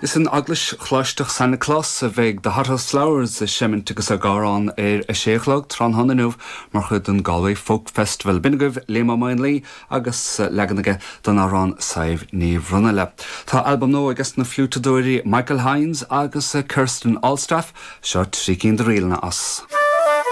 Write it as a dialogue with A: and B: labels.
A: Is in Eaglais Choláisteach San Nioclás a bheidh The Hothouse Flowers ag seimint agus ag amhrán ar a sé a chlog tráthnóna inniu mar chuid den Galway Folk Festival. B'in agaibh Liam Ó Maonlaí agus leagan aige den amhrán Sadhbh Ní Bhronaile. Tá albam nua ages na fliúiteadóirí Michael Hynes agus Kirsten Alstaff. Seo 3 cinn de ríleanna as.